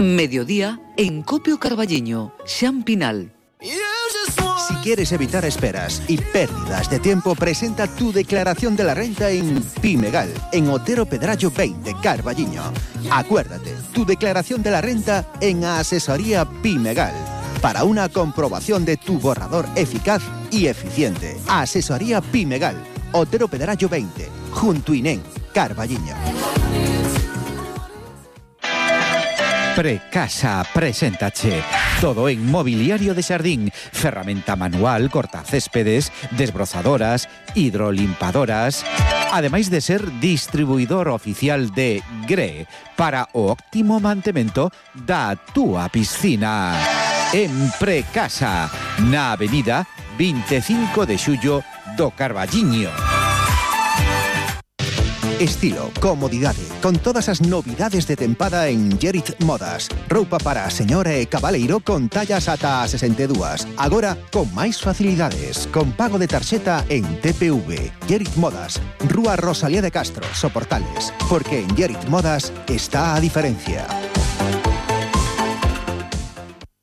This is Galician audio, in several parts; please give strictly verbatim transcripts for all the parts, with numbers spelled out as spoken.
Mediodía en Copio Carballiño, Xampinal. Si quieres evitar esperas y pérdidas de tiempo, presenta tu declaración de la renta en Pimegal, en Otero Pedrallo veinte, Carballiño. Acuérdate, tu declaración de la renta en Asesoría Pimegal, para una comprobación de tu borrador eficaz y eficiente. Asesoría Pimegal, Otero Pedrallo veinte, junto Inén, Carballiño. Precasa preséntache todo en mobiliario de xardín, ferramenta manual, cortacéspedes, desbrozadoras, hidrolimpadoras, ademais de ser distribuidor oficial de Gre para o óptimo mantemento da túa piscina. En Precasa, na avenida veinticinco de xullo do Carballiño. Estilo, comodidade, con todas as novidades de tempada en Gerit Modas. Roupa para a señora e cabaleiro con tallas ata a sesenta e dúas. Agora, con máis facilidades, con pago de tarxeta en T P V. Gerit Modas, Rúa Rosalía de Castro, Soportales. Porque en Gerit Modas está a diferencia.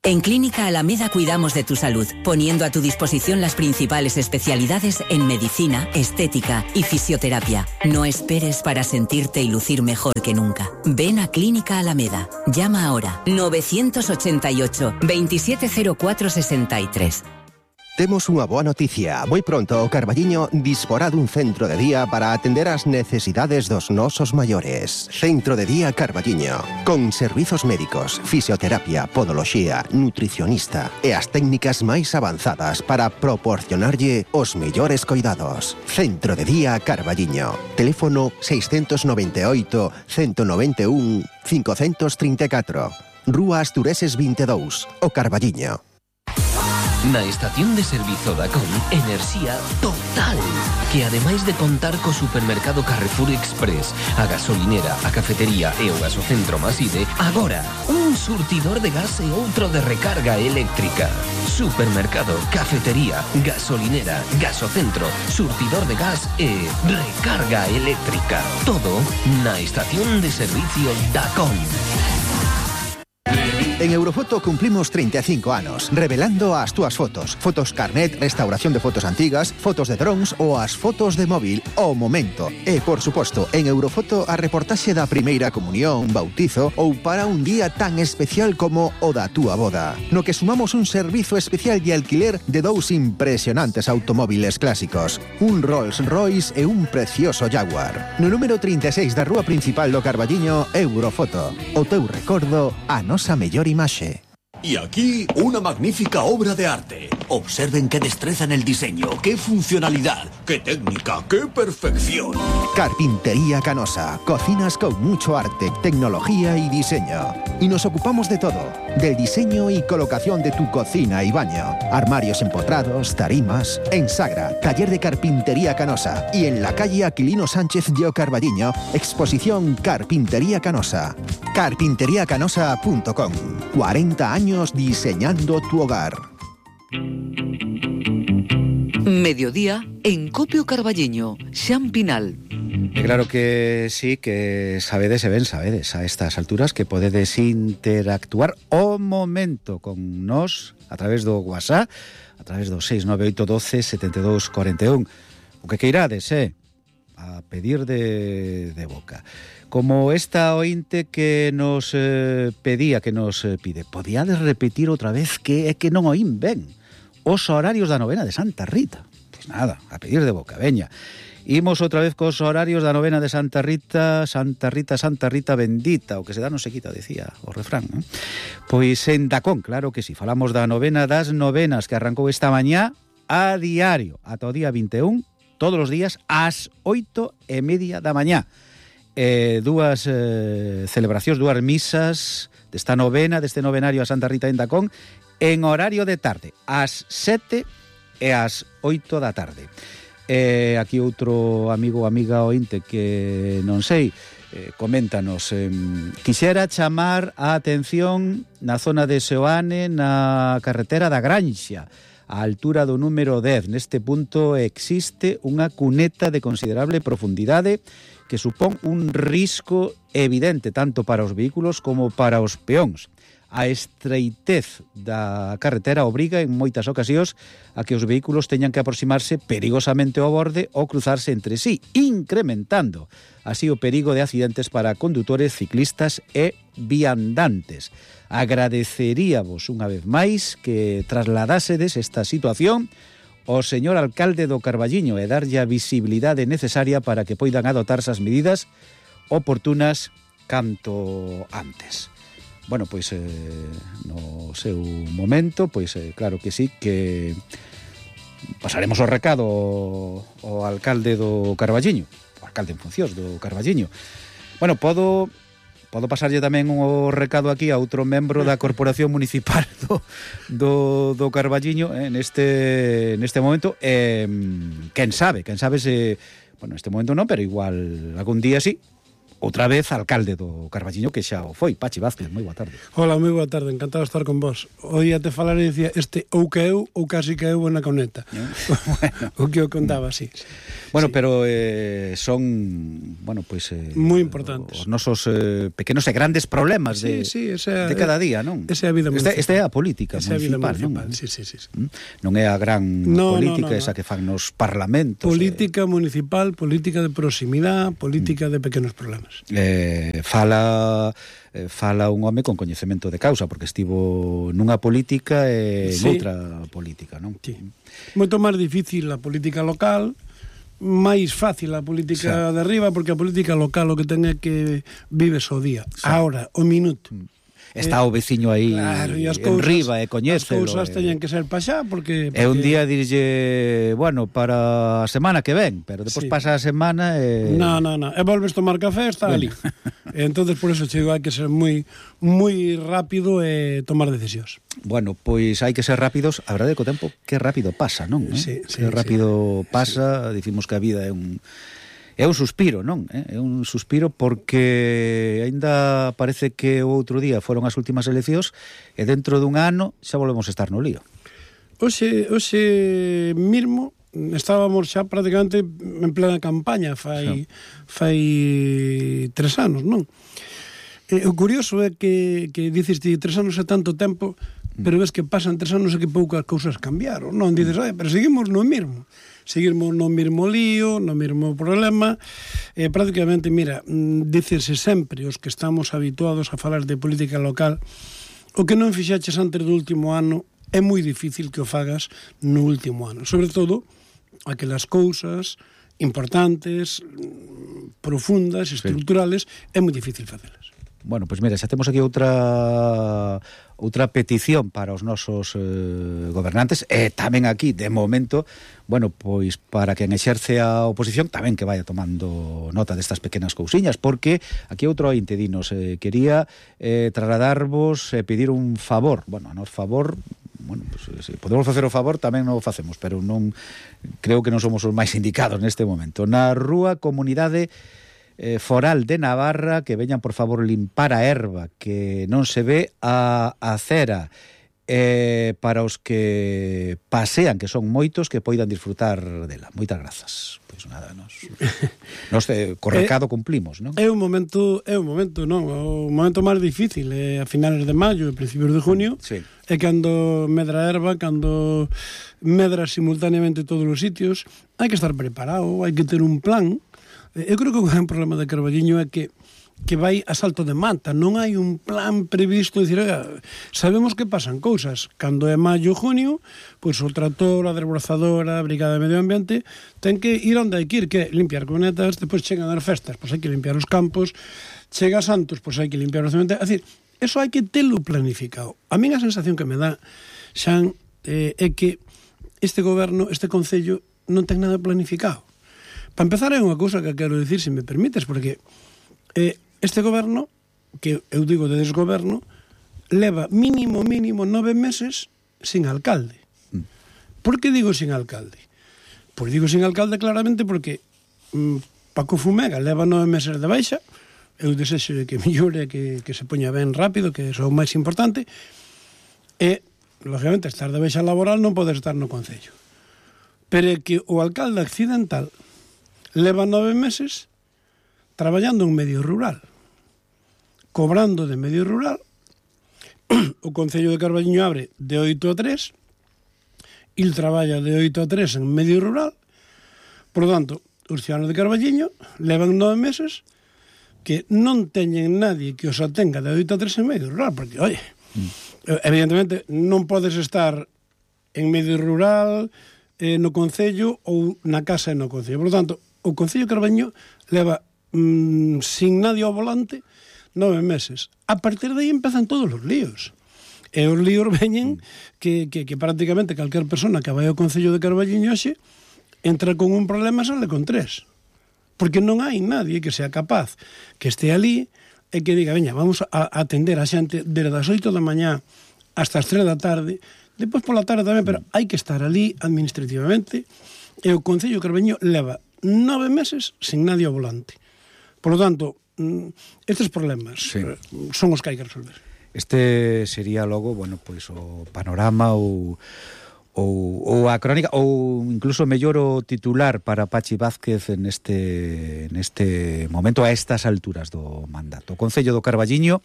En Clínica Alameda cuidamos de tu salud, poniendo a tu disposición las principales especialidades en medicina, estética y fisioterapia. No esperes para sentirte y lucir mejor que nunca. Ven a Clínica Alameda. Llama ahora novecientos ochenta y ocho, veintisiete cero cuatro sesenta y tres. Temos unha boa noticia. Moi pronto o Carballiño disporá dun centro de día para atender as necesidades dos nosos maiores. Centro de Día Carballiño, con servizos médicos, fisioterapia, podoloxía, nutricionista e as técnicas máis avanzadas para proporcionarlle os mellores coidados. Centro de Día Carballiño. Teléfono seiscentos noventa e oito, ciento noventa e un, quinhentos trinta e catro. Rúa Astureses veinte e dous, o Carballiño. Na estación de servizo Dacón, enerxía total, que ademais de contar co supermercado Carrefour Express, a gasolinera, a cafetería e o gasocentro Maside, agora un surtidor de gas e outro de recarga eléctrica. Supermercado, cafetería, gasolinera, gasocentro, surtidor de gas e recarga eléctrica. Todo na estación de servicio Dacón. En Eurofoto cumplimos treinta e cinco anos, revelando as túas fotos. Fotos carnet, restauración de fotos antigas, fotos de drones ou as fotos de móvil ao momento. E, por suposto, en Eurofoto a reportaxe da primeira comunión, bautizo ou para un día tan especial como o da túa boda. No que sumamos un servizo especial de alquiler de dous impresionantes automóviles clásicos. Un Rolls Royce e un precioso Jaguar. No número trinta e seis da rúa principal do Carballiño, Eurofoto. O teu recordo, a nosa mellor imaxe. Y aquí una magnífica obra de arte. Observen qué destreza en el diseño, qué funcionalidad, qué técnica, qué perfección. Carpintería Canosa. Cocinas con mucho arte, tecnología y diseño. Y nos ocupamos de todo. Del diseño y colocación de tu cocina y baño. Armarios empotrados, tarimas. En Sagra, taller de Carpintería Canosa. Y en la calle Aquilino Sánchez de Carballiño, exposición Carpintería Canosa. carpintería canosa punto com. cuarenta años diseñando tu hogar. Mediodía en Copio Carballiño, Xampinal. E claro que sí, que sabedes e ben sabedes a estas alturas que podedes interactuar o momento con nós a través do WhatsApp, a través do seis nove oito doce setenta e dous cuarenta e un. O que queirades, eh? A pedir de, de boca. Como esta ointe que nos eh, pedía, que nos eh, pide, podíades repetir outra vez que é que non oín ben os horarios da novena de Santa Rita. Pois nada, a pedir de boca, veña. Imos outra vez cos horarios da novena de Santa Rita, Santa Rita, Santa Rita bendita, o que se dá non se quita, decía o refrán, non? Pois en Dacón, claro que si, falamos da novena das novenas que arrancou esta mañá a diario, ata o día vinte e un, todos os días, ás oito e media da mañá. Eh, dúas eh, celebracións, dúas misas desta novena, deste novenario a Santa Rita en Dacón, en horario de tarde, ás sete e ás oito da tarde. Eh, aquí outro amigo ou amiga ointe que non sei, eh, coméntanos, eh, quixera chamar a atención na zona de Seoane, na carretera da Granxa, á altura do número dez. Neste punto existe unha cuneta de considerable profundidade que supón un risco evidente tanto para os vehículos como para os peóns. A estreitez da carretera obriga en moitas ocasións a que os vehículos teñan que aproximarse perigosamente ao borde ou cruzarse entre sí, incrementando así o perigo de accidentes para condutores, ciclistas e viandantes. Agradeceríavos unha vez máis que trasladásedes esta situación ao señor alcalde do Carballiño e darlle a visibilidade necesaria para que poidan adoptarse as medidas oportunas canto antes. Bueno, pois eh, no seu momento, pois eh, claro que sí, que pasaremos o recado ao alcalde do Carballiño, o alcalde en funcións do Carballiño. Bueno, podo podo pasarlle tamén o recado aquí a outro membro da Corporación Municipal do, do, do Carballiño eh, neste, neste momento. Eh, quen sabe, quen sabe se... Bueno, neste momento non, pero igual algún día sí. Outra vez alcalde do Carballiño, que xa o foi. Pachi Vázquez, moi boa tarde. Hola, moi boa tarde, encantado de estar con vos. Oía te falar e dicía este ou que eu ou casi que eu na coneta. Bueno. O que eu contaba, sí. Bueno, sí. pero eh, son, bueno, pois... Eh, moi importantes. Os nosos eh, pequenos e grandes problemas de, sí, sí, esa, de cada día, non? Esa é a vida municipal. Esta é a política esa municipal, municipal, non? Sí, sí, sí. Non é a gran no, política no, no, esa no. que fan nos parlamentos. Política eh... municipal, política de proximidade, política mm. de pequenos problemas. Eh, fala eh, fala un home con coñecemento de causa, porque estivo nunha política e sí. noutra política, non? Sí. Moito máis difícil a política local, máis fácil a política sí. de arriba, porque a política local o que ten é que vives o día, sí. ahora, o minuto. Mm. Está o veciño aí claro, e as en cousas, riba e coñécelo. As cousas teñen que ser pa xa porque, porque... E un día dirlle, bueno, para a semana que ven, pero depois sí. pasa a semana e... No, no, no, e volves tomar café, está bueno. ali. E entonces por eso chego hai que ser moi moi rápido e tomar decisións. Bueno, pois hai que ser rápidos, a verdade é que o tempo que rápido pasa, non? Sí, sí, que rápido sí. pasa, sí. dicimos que a vida é un... É un suspiro, non? É un suspiro porque aínda parece que o outro día foron as últimas eleccións e dentro dun ano xa volvemos a estar no lío. Hoxe, hoxe mismo estábamos xa prácticamente en plena campaña fai, fai tres anos, non? E o curioso é que, que dices ti, tres anos é tanto tempo, pero ves que pasan tres anos e que poucas cousas cambiaron, non? Dices, ai, pero seguimos no mismo. Seguimos no mesmo lío, no mesmo problema, e prácticamente, mira, dícese sempre os que estamos habituados a falar de política local, o que non fixaches antes do último ano é moi difícil que o fagas no último ano. Sobre todo, aquelas cousas importantes, profundas, estruturales, sí. é moi difícil facelas. Bueno, pois mira, xa temos aquí outra outra petición para os nosos eh, gobernantes e tamén aquí, de momento, bueno, pois para quen exerce a oposición tamén que vaya tomando nota destas pequenas cousiñas, porque aquí outro ointe dinos eh, quería eh, trasladarvos e eh, pedir un favor, bueno, a nos favor, bueno, pues, se podemos facer o favor tamén non o facemos, pero non creo que non somos os máis indicados neste momento. Na rúa Comunidade Eh, foral de Navarra, que veñan por favor limpar a erva que non se ve a acera, eh, para os que pasean, que son moitos, que poidan disfrutar dela. Moitas grazas. Pois nada, nos, nos eh, co recado cumplimos, non? É un momento, é un momento, non? O momento máis difícil é a finales de maio e principios de junio. Sí. É cando medra a erva, cando medra simultaneamente todos os sitios. Hai que estar preparado, hai que ter un plan. Eu creo que o gran problema de Carballiño é que que vai a salto de mata, non hai un plan previsto, dicir, oiga, sabemos que pasan cousas, cando é maio, junio, pois o trator, a desbrozadora, a brigada de medio ambiente, ten que ir onde hai que ir, que é limpiar cunetas, depois chegan as festas, pois hai que limpiar os campos, chega Santos, pois hai que limpiar os cementerios, é dicir, eso hai que telo planificado. A mí a sensación que me dá, Xan, eh, é que este goberno, este concello, non ten nada planificado. Para empezar, é unha cousa que quero dicir, se me permites, porque eh, este goberno, que eu digo de desgoberno, leva mínimo, mínimo nove meses sin alcalde. Por que digo sin alcalde? Pois digo sin alcalde claramente porque mm, Paco Fumega leva nove meses de baixa, eu desexo que mellore, que, que se poña ben rápido, que é o máis importante, e lógicamente, estar de baixa laboral non podes estar no Concello. Pero é que o alcalde accidental leva nove meses traballando en medio rural, cobrando de medio rural. O Concello de Carballiño abre de oito a tres, il traballa de oito a tres en medio rural. Por lo tanto, os ciudadanos de Carballiño levan nove meses que non teñen nadie que os atenga de oito a tres en medio rural, porque, oye, mm. evidentemente non podes estar en medio rural, eh, no Concello ou na casa e no Concello. Por lo tanto, o Concello de Carballiño leva mm, sin nadie ao volante nove meses. A partir de aí empezan todos os líos. E os líos veñen que, que, que prácticamente calquer persona que vai ao Concello de Carballiño hoxe entra con un problema e sale con tres. Porque non hai nadie que sea capaz que este ali e que diga, veña, vamos a atender a xente desde as oito da mañá hasta as tres da tarde, depois pola tarde tamén, pero hai que estar ali administrativamente, e o Concello de Carballiño leva nove meses sin nadie ao volante. Por lo tanto, estes problemas sí. son os que hai que resolver. Este sería logo, bueno, pois o panorama ou ou, ou a crónica, ou incluso mellor o titular para Pachi Vázquez neste, neste momento, a estas alturas do mandato. O Concello do Carballiño,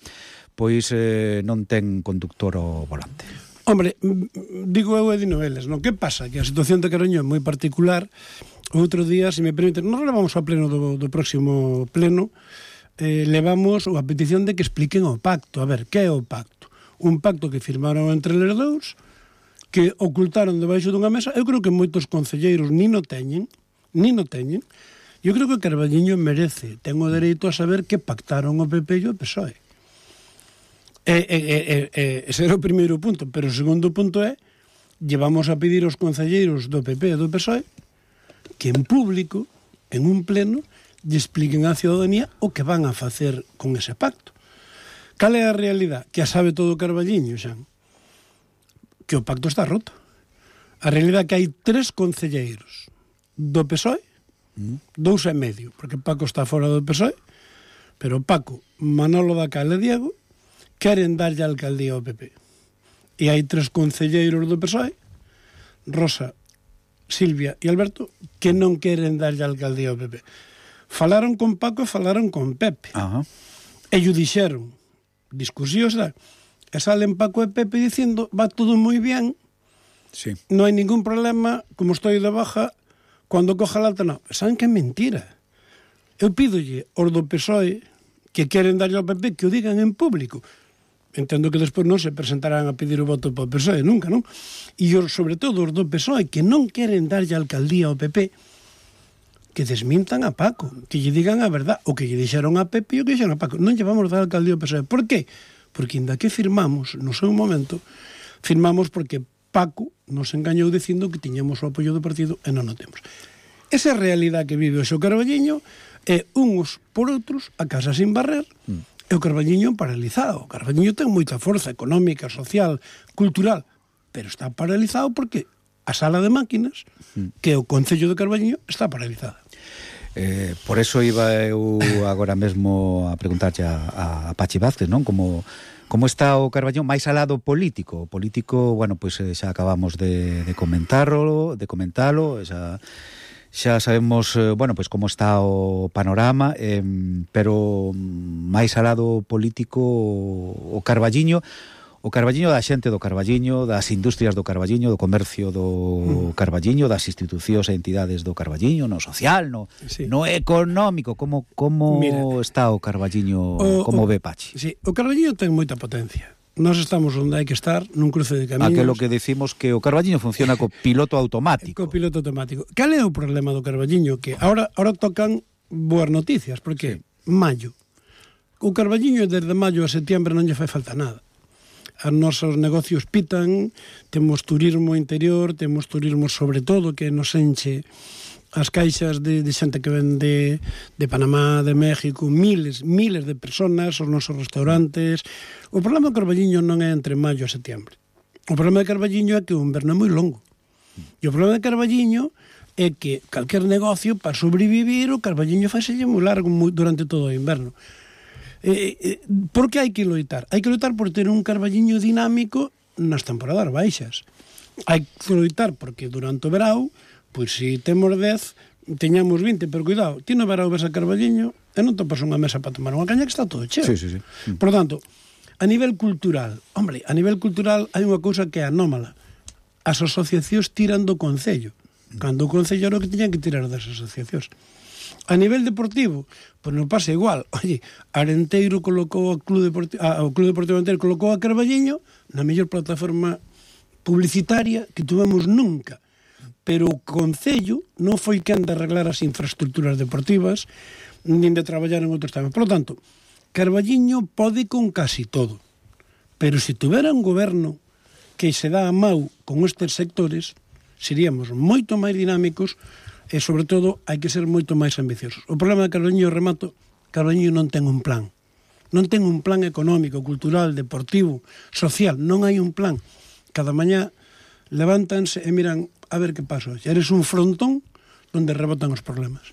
pois eh, non ten conductor ao volante. Hombre, digo eu e di noveles, non? Que pasa? Que a situación de Carballiño é moi particular. Outro día, se me permiten, nos levamos ao pleno do, do próximo pleno, eh, levamos a petición de que expliquen o pacto. A ver, que é o pacto? Un pacto que firmaron entre eles dous, que ocultaron debaixo dunha mesa. Eu creo que moitos concelleiros ni no teñen, ni no teñen. Eu creo que o Carballiño merece, ten o dereito a saber que pactaron o P P e o P S O E. E, e, e, e, ese era o primeiro punto, pero o segundo punto é, llevamos a pedir aos concelleiros do P P e do P S O E que en público, en un pleno, lle expliquen á ciudadanía o que van a facer con ese pacto. Cal é a realidade? Que a sabe todo o Carballiño, xa. Que o pacto está roto. A realidade é que hai tres concelleiros do P S O E, mm. dous e medio, porque Paco está fora do P S O E, pero Paco, Manolo Dacal e Diego queren darlle a alcaldía ao P P. E hai tres concelleiros do P S O E, Rosa, Silvia e Alberto, que non queren darlle a alcaldía ao P P. Falaron con Paco e falaron con Pepe. Uh-huh. E lle dixeron, discusións, e salen Paco e Pepe dicindo, va todo moi bien, sí. Non hai ningún problema, como estou de baja, cando coja la alta, non. Saben que é mentira. Eu pídolle aos do P S O E que queren darlle ao P P que o digan en público. Entendo que despois non se presentarán a pedir o voto para o P S O E nunca, non? E os, sobre todo os do P S O E que non queren darlle a alcaldía ao P P, que desmintan a Paco, que lle digan a verdad, o que lle dixeron a Pepe e o que dixeron a Paco. Non lle vamos dar a alcaldía ao P S O E. Por qué? Porque inda que firmamos, no seu momento, firmamos porque Paco nos engañou dicindo que tiñamos o apoio do partido e non o temos. Esa realidade que vive o xo Carballiño é uns por outros a casa sin barrer, mm. e o Carballiño paralizado. O Carballiño ten moita forza económica, social, cultural, pero está paralizado porque a sala de máquinas, mm. que o Concello de Carballiño, está paralizada. Eh, por eso iba eu agora mesmo a preguntarlle a, a Pachi Vázquez, non? Como, como está o Carballiño máis alá do político? O político, bueno, pois pues, xa acabamos de, de comentarlo, de comentalo, xa... Xa sabemos, bueno, pois como está o panorama, eh, pero máis alá do político o Carballiño, o Carballiño da xente do Carballiño, das industrias do Carballiño, do comercio do Carballiño, das institucións e entidades do Carballiño, no social, no, sí. no económico, como como Mira, está o Carballiño, o, como o, ve Pachi? Sí, o Carballiño ten moita potencia. Nós estamos onde hai que estar, nun cruce de camiños. Aquilo que decimos que o Carballiño funciona co piloto automático. Co piloto automático. Cal é o problema do Carballiño? Que ahora, ahora tocan boas noticias, porque sí. maio. O Carballiño desde maio a setiembre non lle fai falta nada. Os nosos negocios pitan, temos turismo interior, temos turismo sobre todo que nos enche as caixas de, de xente que ven de, de Panamá, de México, miles, miles de personas, os nosos restaurantes. O problema do Carballiño non é entre maio e setiembre. O problema de Carballiño é que o inverno é moi longo. E o problema de Carballiño é que calquer negocio, para sobrevivir, o Carballiño faiselle moi largo moi, durante todo o inverno. Eh, eh, por que hai que loitar? Hai que loitar por ter un Carballiño dinámico nas temporadas baixas. Hai que loitar porque durante o verao, pois se temos dez, teñamos vinte, pero cuidado, ti no verao ves a Carballiño e non topas unha mesa para tomar unha caña que está todo cheo. Sí, sí, sí. Por tanto, a nivel cultural, hombre, a nivel cultural hai unha cousa que é anómala. As asociacións tiran do Concello, cando o Concello era o que tiñan que tirar das asociacións. A nivel deportivo, pois non pasa igual. Oye, Arenteiro colocou o Club Deportivo, a, o Club Deportivo Arenteiro colocou a Carballiño na mellor plataforma publicitaria que tuvemos nunca. Pero o Concello non foi quen de arreglar as infraestructuras deportivas nin de traballar en outros temas. Por lo tanto, Carballiño pode con casi todo. Pero se tuvera un goberno que se dá a mau con estes sectores, seríamos moito máis dinámicos e, sobre todo, hai que ser moito máis ambiciosos. O problema de Carballiño, remato, Carballiño non ten un plan. Non ten un plan económico, cultural, deportivo, social. Non hai un plan. Cada mañá levántanse e miran a ver que pasa. Eres un frontón onde rebotan os problemas.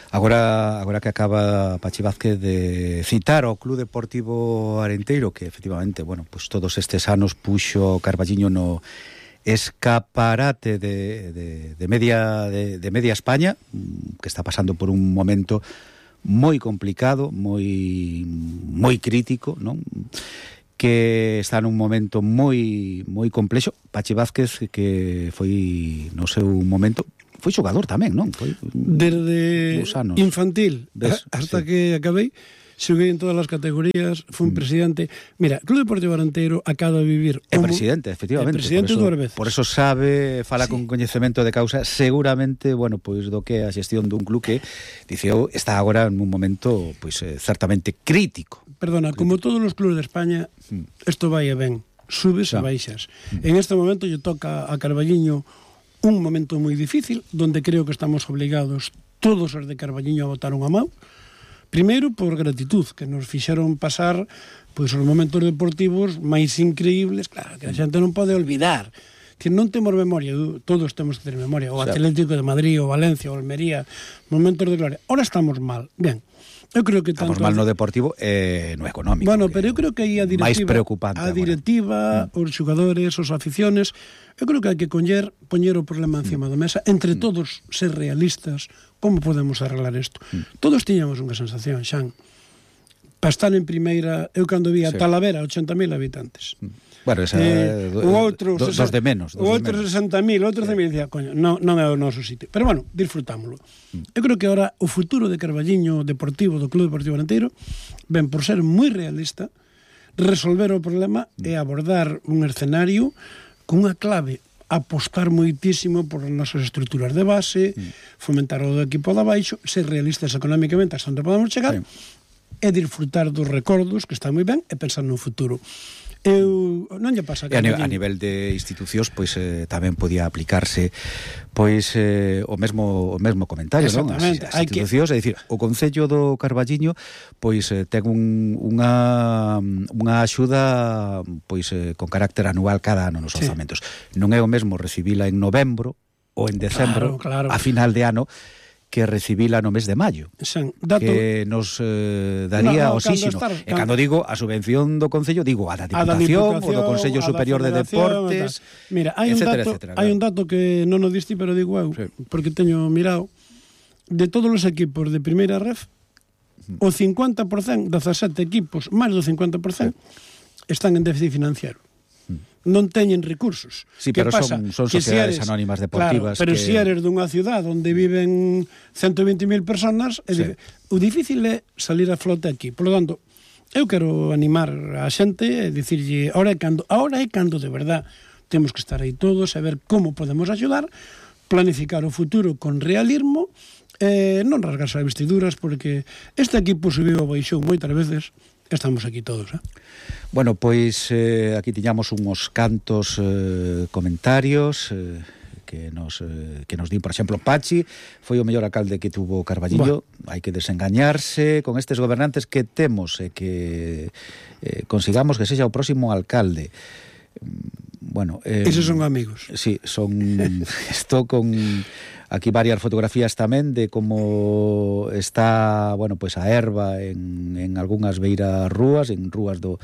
Agora, agora que acaba Pachi Vázquez de citar o Club Deportivo Arenteiro, que efectivamente, bueno, pues todos estes anos puxo Carballiño no escaparate de, de, de media de, de media España, que está pasando por un momento moi complicado, moi moi crítico, non? Que está nun momento moi moi complexo. Pachi Vázquez, que foi no seu momento, foi xogador tamén, non? Foi desde infantil ¿Ves? hasta sí. que acabei, xoguei en todas as categorías, fui un mm. presidente. Mira, Club Deportivo Arenteiro acaba de vivir É presidente, efectivamente. É presidente por eso, dúas veces. Por eso sabe, fala sí. con coñecemento de causa, seguramente, bueno, pois do que a xestión dun club que, diceo, está agora en un momento, pois, eh, certamente crítico. Perdona, crítico. Como todos os clubes de España, isto mm. vai e ben, subes e baixas. Mm. En este momento lle toca a Carballiño un momento moi difícil, donde creo que estamos obligados todos os de Carballiño a botar unha mão. Primeiro, por gratitud, que nos fixeron pasar pois os momentos deportivos máis increíbles, claro, que a xente non pode olvidar. Que non temos memoria, todos temos que ter memoria, o Atlético de Madrid, o Valencia, o Almería, momentos de gloria. Ahora estamos mal, ben. Eu creo que tanto estamos mal no deportivo e eh, no económico. Bueno, pero eu creo que aí a directiva, máis preocupante a directiva, mm. os xogadores, os aficiones, eu creo que hai que coñer, poñer o problema encima mm. da mesa, entre mm. todos ser realistas, como podemos arreglar isto. Mm. Todos tiñamos unha sensación, Xan, para estar en primeira, eu cando vi a sí. Talavera, ochenta mil habitantes. Mm. Bueno, esa, eh, o outro, do, dos de menos. O outro sesenta mil, outro de mil, dicía, coño, non, non é o noso sitio. Pero bueno, disfrutámoslo. Mm. Eu creo que ahora o futuro de Carballiño deportivo, do Club Deportivo Arenteiro, ven por ser moi realista, resolver o problema mm. e abordar un escenario con unha clave, apostar moitísimo por as nosas estruturas de base, mm. fomentar o do equipo de abaixo, ser realistas económicamente hasta onde podemos chegar, sí. e disfrutar dos recordos, que está moi ben, e pensar no futuro. Eu non lle pasa que a, a nivel de institucións pois eh, tamén podía aplicarse pois eh, o mesmo o mesmo comentario, non? As, as institucións, que... é dicir, o Concello do Carballiño pois eh, ten un, unha unha axuda pois eh, con carácter anual cada ano nos orzamentos. Sí. Non é o mesmo recibila en novembro ou en decembro, claro, claro. a final de ano, que recibila no mes de maio, Sen, dato... que nos eh, daría no, no, oxígeno. Estar, e cando digo a subvención do Concello, digo a da Diputación, o do Consello Superior de Deportes, mira, hai etcétera, un dato, etcétera, hai claro. un dato que non o diste, pero digo eu, sí. porque teño mirado, de todos os equipos de primeira ref, uh-huh. o cincuenta por cento, dezasete equipos, máis do cincuenta por cento, sí. están en déficit financiero. Non teñen recursos. Sí, pero pasa? son, son que sociedades si eres, anónimas deportivas. Claro, pero que... se si eres dunha ciudad onde viven ciento vinte mil personas, é sí. difícil. O difícil é salir a flote aquí. Por lo tanto, eu quero animar a xente e dicirlle, ahora é cando, ahora é cando de verdad temos que estar aí todos a ver como podemos axudar, planificar o futuro con realismo, eh, non rasgarse as vestiduras, porque este equipo subiu ou baixou moitas veces. Estamos aquí todos, eh? Bueno, pois eh, aquí tiñamos uns cantos eh, comentarios eh, que nos eh, que nos din, por exemplo, Pachi foi o mellor alcalde que tuvo Carballiño. Bueno. Hai que desengañarse con estes gobernantes que temos e que eh, consigamos que sexa o próximo alcalde. Bueno, eh, esos son amigos. Sí, son estou con aquí varias fotografías tamén de como está, bueno, pois pues a erva en, en algunhas beiras rúas, en rúas do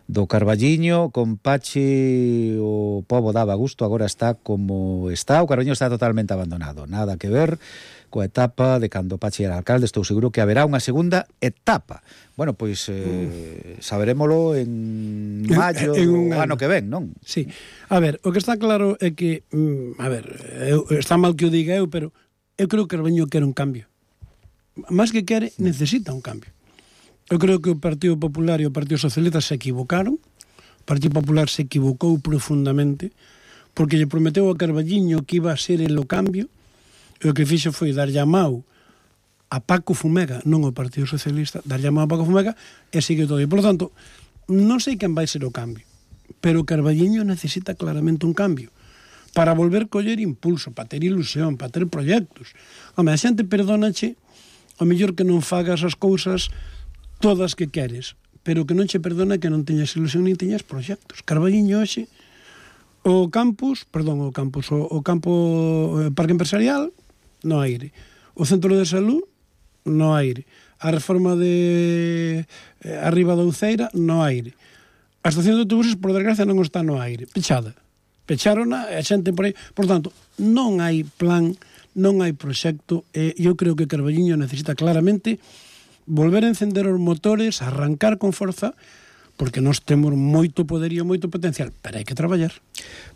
do Carballiño, con Pachi o pobo daba gusto, agora está como está, o Carballiño está totalmente abandonado, nada que ver coa etapa de cando Pachi era alcalde. Estou seguro que haberá unha segunda etapa. Bueno, pois eh, saberémolo en maio en un do ano que ven, non? Sí. A ver, o que está claro é que, mm, a ver, eu, está mal que o diga eu, pero eu creo que Carballiño quere un cambio. Más que quere, necesita un cambio. Eu creo que o Partido Popular e o Partido Socialista se equivocaron. O Partido Popular se equivocou profundamente porque lle prometeu a Carballiño que iba a ser el o cambio, e o que fixo foi dar llamado a Paco Fumega, non ao Partido Socialista, dar llamado a Paco Fumega e sigue todo. E, por lo tanto, non sei quen vai ser o cambio, pero Carballiño necesita claramente un cambio para volver coller impulso, para ter ilusión, para ter proxectos. Home, a xente perdónache ao mellor que non fagas as cousas todas que queres, pero que non che perdona que non teñas ilusión nin teñas proxectos. Carballiño hoxe, o campus, perdón, o campus, o, o campo o parque empresarial, no aire. O centro de salud, no aire. A reforma de eh, arriba da Uceira, no aire. A estación de autobuses, por desgracia, non está no aire. Pechada. Pecharona, a xente por aí. Por tanto, non hai plan, non hai proxecto, e eu creo que Carballiño necesita claramente volver a encender os motores, arrancar con forza, porque nós temos moito poderío, moito potencial, pero hai que traballar.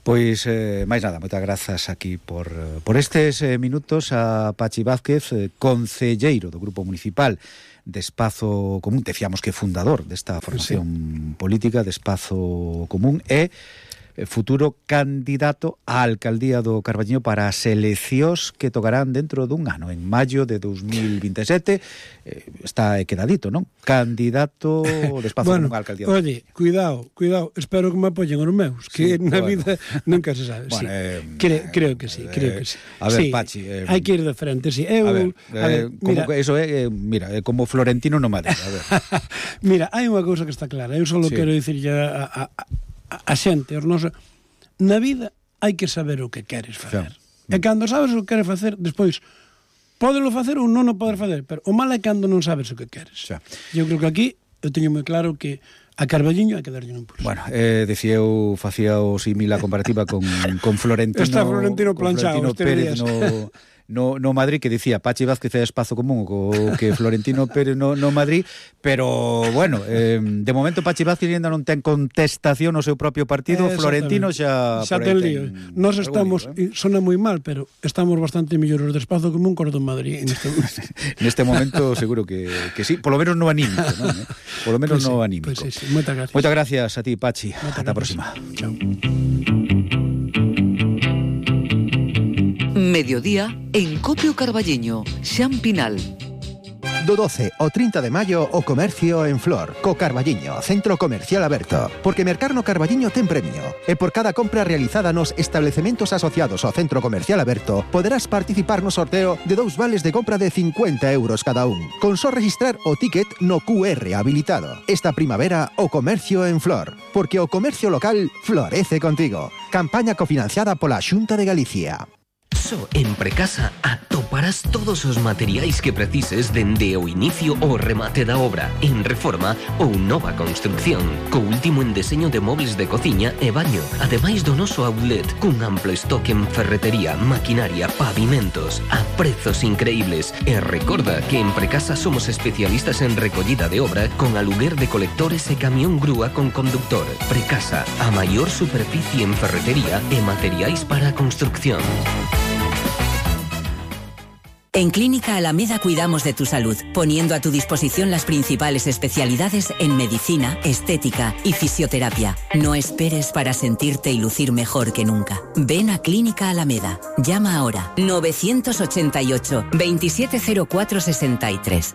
Pois, eh, máis nada, moitas grazas aquí por, por estes eh, minutos a Pachi Vázquez, eh, concelleiro do Grupo Municipal de Espazo Común, decíamos que fundador desta formación sí. política de Espazo Común, e futuro candidato á alcaldía do Carballiño para as eleccións que tocarán dentro dun ano, en maio de dos mil vinte e sete. Eh, está quedadito, non? Candidato de Espazo bueno, Común á alcaldía. Oye, cuidado, cuidado, espero que me apoyen os meus, que sí, na bueno. vida nunca se sabe. Bueno, sí. eh, creo, creo que sí, eh, creo que sí. A ver, sí, Pachi, eh, hai que ir de frente, sí. Eu, a ver, a ver eh, como mira, eso é, eh, mira, é como Florentino no Madrid, a ver. Mira, hai unha cousa que está clara, eu só sí. quero dicir a, a, a, a xente, os nosos, na vida hai que saber o que queres facer. Sí. E cando sabes o que queres facer, despois pódelo facer ou non o poder facer, pero o mal é cando non sabes o que queres. Sí. Eu creo que aquí eu teño moi claro que a Carballiño hai que darlle un impulso. Bueno, eh, decía eu, facía o símil a comparativa con, con Florentino. Está Florentino planchado, Florentino Pérez no, no, no Madrid, que dicía Pachi Vázquez é Espazo Común, o que Florentino Pérez no, no Madrid, pero bueno, eh, de momento Pachi Vázquez ainda non ten contestación no seu propio partido, eh, Florentino xa... Xa ten lío. Nos estamos, lío, eh? sona moi mal, pero estamos bastante mellores de Espazo Común que os do Madrid en este momento. Neste momento seguro que, que sí, polo menos no anímico, non? Eh? Polo menos pues no sí, anímico. Pues sí, sí. Moitas gracias. Moitas gracias a ti, Pachi. Moitas Ata a gracias. próxima. Chao. Mediodía en Copio Carballiño, Xan Pinal. Do doce ao trinta de maio o comercio en Flor, co Carballiño, centro comercial aberto. Porque mercar no Carballiño ten premio. E por cada compra realizada nos establecementos asociados ao centro comercial aberto, poderás participar no sorteo de dous vales de compra de cincuenta euros cada un. Con só registrar o ticket no cu erre habilitado. Esta primavera o comercio en Flor. Porque o comercio local florece contigo. Campaña cofinanciada pola Xunta de Galicia. Só en Precasa atoparás todos os materiais que precises dende o inicio ao remate da obra, en reforma ou nova construcción, co último en deseño de mobles de cociña e baño, ademais do noso outlet, cun amplo estoque en ferretería, maquinaria, pavimentos, a prezos increíbles. E recorda que en Precasa somos especialistas en recollida de obra con aluguer de colectores e camión grúa con conductor. Precasa, a maior superficie en ferretería e materiais para a construcción. En Clínica Alameda cuidamos de tu salud, poniendo a tu disposición las principales especialidades en medicina, estética y fisioterapia. No esperes para sentirte y lucir mejor que nunca. Ven a Clínica Alameda. Llama ahora novecientos ochenta y ocho, veintisiete cero cuatro sesenta y tres.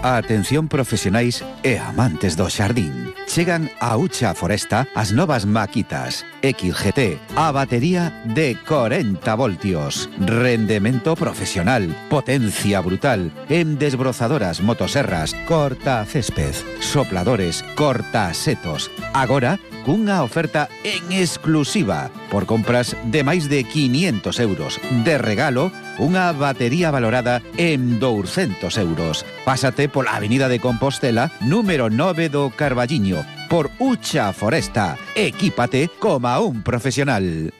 A atención profesionais e amantes do xardín. Chegan a Ucha Foresta as novas maquitas X G T, a batería de corenta voltios, rendemento profesional, potencia brutal, en desbrozadoras, motoserras, corta césped, sopladores, corta setos. Agora, cunha oferta en exclusiva, por compras de máis de quinientos euros. De regalo, unha batería valorada en douscentos euros. Pásate pola Avenida de Compostela, número nove do Carballiño, por Ucha Foresta. Equípate como un profesional.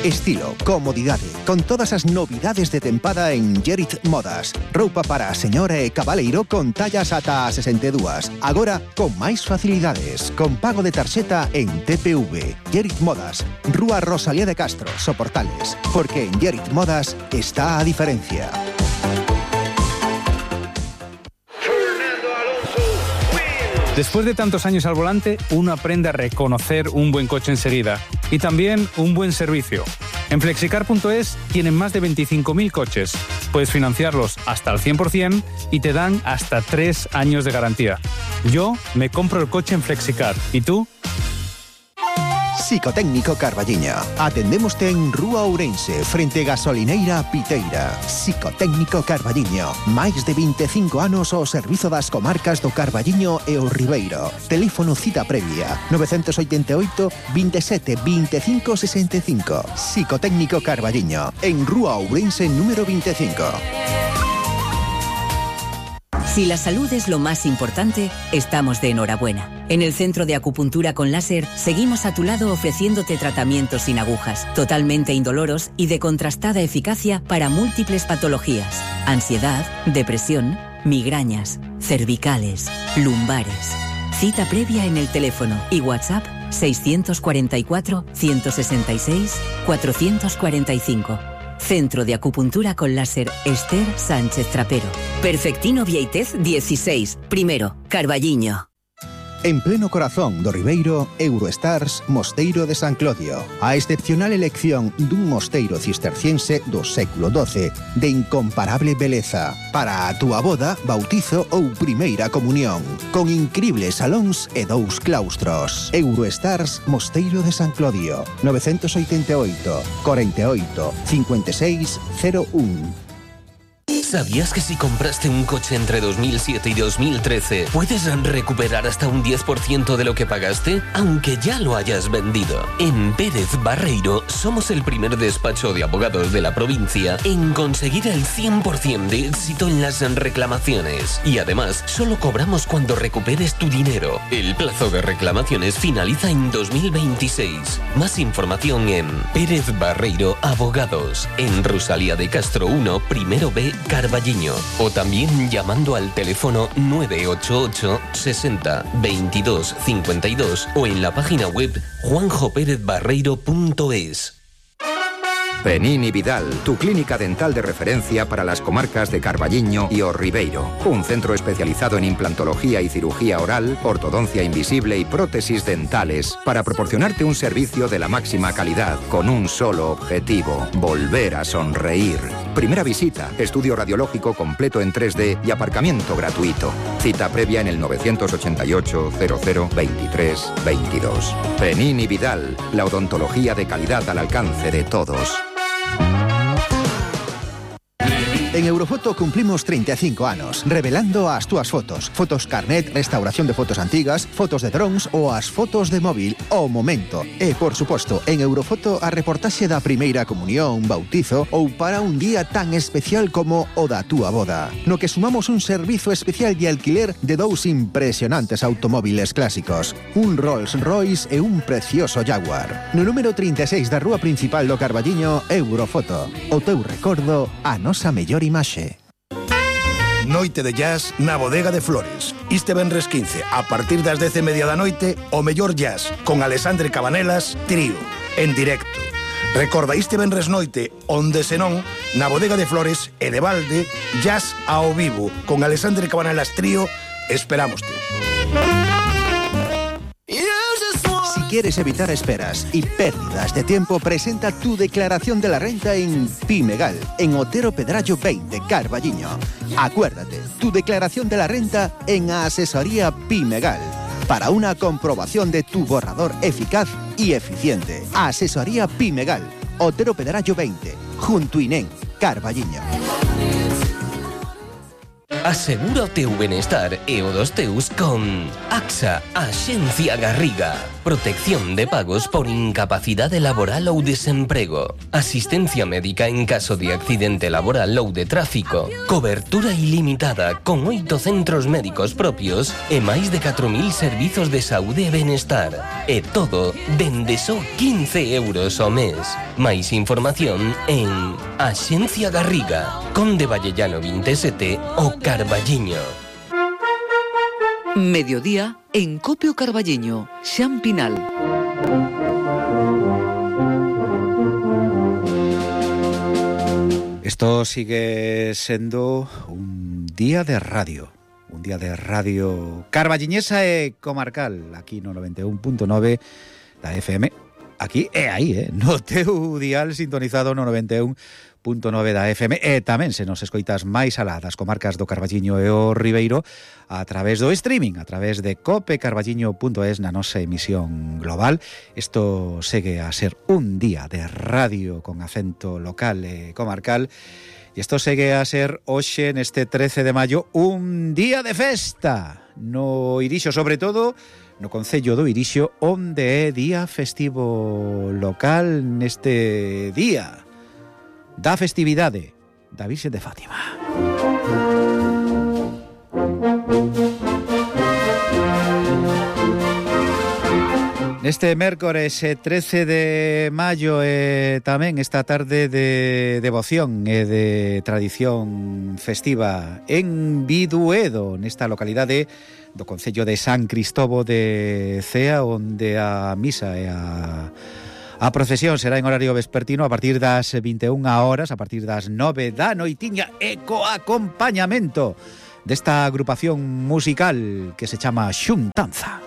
Estilo, comodidade, con todas as novidades de tempada en Gerit Modas. Roupa para a señora e cabaleiro con tallas ata a sesenta e dúas. Agora, con máis facilidades, con pago de tarxeta en T P V. Gerit Modas, Rúa Rosalía de Castro, Soportales. Porque en Gerit Modas está a diferencia. Después de tantos años al volante, uno aprende a reconocer un buen coche enseguida y también un buen servicio. En flexicar punto es tienen más de veinticinco mil coches. Puedes financiarlos hasta el cien por ciento y te dan hasta tres años de garantía. Yo me compro el coche en Flexicar. ¿Y tú? Psicotécnico Carballiño. Atendémoste en Rúa Ourense, frente Gasolineira Piteira. Psicotécnico Carballiño. Máis de veinticinco anos ao servizo das comarcas do Carballiño e o Ribeiro. Teléfono cita previa nove oito oito, veintisiete, veinticinco sesenta y cinco. Psicotécnico Carballiño. En Rúa Ourense número veinticinco. Si la salud es lo más importante, estamos de enhorabuena. En el Centro de Acupuntura con Láser seguimos a tu lado ofreciéndote tratamientos sin agujas, totalmente indoloros y de contrastada eficacia para múltiples patologías: ansiedad, depresión, migrañas, cervicales, lumbares. Cita previa en el teléfono y WhatsApp seiscientos cuarenta y cuatro, ciento sesenta y seis, cuatrocientos cuarenta y cinco. Centro de Acupuntura con Láser Esther Sánchez Trapero. Perfectino Vieitez dieciséis, primero, Carballiño. En pleno corazón do Ribeiro, Eurostars Mosteiro de San Clodio. A excepcional elección dun mosteiro cisterciense do século doce, de incomparable beleza, para a túa boda, bautizo ou primeira comunión, con incribles salóns e dous claustros. Eurostars Mosteiro de San Clodio, nove oito oito, cuarenta y ocho, cincuenta y seis cero uno. ¿Sabías que si compraste un coche entre dos mil siete y dos mil trece puedes recuperar hasta un diez por ciento de lo que pagaste, aunque ya lo hayas vendido? En Pérez Barreiro somos el primer despacho de abogados de la provincia en conseguir el cien por ciento de éxito en las reclamaciones. Y además, solo cobramos cuando recuperes tu dinero. El plazo de reclamaciones finaliza en dos mil veintiséis. Más información en Pérez Barreiro Abogados, en Rosalía de Castro uno, primero B, Carballiño, o también llamando al teléfono nueve ocho ocho, sesenta, veintidós, cincuenta y dos o en la página web juanjo pérez barreiro punto es. Penini Vidal, tu clínica dental de referencia para las comarcas de Carballiño y O Ribeiro. Un centro especializado en implantología y cirugía oral, ortodoncia invisible y prótesis dentales, para proporcionarte un servicio de la máxima calidad, con un solo objetivo: volver a sonreír. Primera visita, estudio radiológico completo en tres D y aparcamiento gratuito. Cita previa en el nueve ocho ocho, cero cero, veintitrés, veintidós. Penini Vidal, la odontología de calidad al alcance de todos. En Eurofoto cumplimos treinta y cinco anos, revelando as túas fotos. Fotos carnet, restauración de fotos antigas, fotos de drones ou as fotos de móvil ao momento. E, por suposto, en Eurofoto a reportaxe da primeira comunión, bautizo ou para un día tan especial como o da túa boda. No que sumamos un servizo especial de alquiler de dous impresionantes automóviles clásicos, un Rolls Royce e un precioso Jaguar. No número treinta e seis da rúa principal do Carballiño, Eurofoto. O teu recordo, a nosa mellor imaxe. Noite de jazz na Bodega de Flores. Este venres quince, a partir das dez e media da noite, o mellor jazz, con Alexandre Cabanelas, trío, en directo. Recorda, este venres noite, onde senón, na Bodega de Flores e de balde, jazz ao vivo, con Alexandre Cabanelas trío, esperámoste. Si quieres evitar esperas y pérdidas de tiempo, presenta tu declaración de la renta en Pimegal, en Otero Pedrallo veinte, Carballiño. Acuérdate, tu declaración de la renta en Asesoría Pimegal, para una comprobación de tu borrador eficaz y eficiente. Asesoría Pimegal, Otero Pedrallo veinte, junto a Inén, Carballiño. Asegura o teu benestar e o dos teus con AXA, Axencia Garriga. Protección de pagos por incapacidade laboral ou desemprego. Asistencia médica en caso de accidente laboral ou de tráfico. Cobertura ilimitada con oito centros médicos propios e máis de catro mil servizos de saúde e benestar. E todo dende só quince euros ao mes. Máis información en Axencia Garriga, Conde Vallellano veintisiete o Carballiño. Mediodía en Copio Carballiño, Xampinal. Esto sigue siendo un día de radio, un día de radio carballiñesa e comarcal, aquí no noventa e un punto nove da F M, aquí e aí, eh, no teu dial sintonizado no noventa e un punto nove da F M, e tamén se nos escoitas máis alá das comarcas do Carballiño e o Ribeiro a través do streaming, a través de cope carballiño punto es na nosa emisión global. Isto segue a ser un día de radio con acento local e comarcal, e isto segue a ser hoxe neste trece de maio un día de festa no Irixo, sobre todo no concello do Irixo, onde é día festivo local neste día da festividade da Virxe de Fátima. Neste mércores trece de maio e tamén esta tarde de devoción e de tradición festiva en Biduedo, nesta localidade do concello de San Cristobo de Cea, onde a misa e a A procesión será en horario vespertino a partir das vinte e unha horas, a partir das nove da noitiña, e co acompañamento desta agrupación musical que se chama Xuntanza.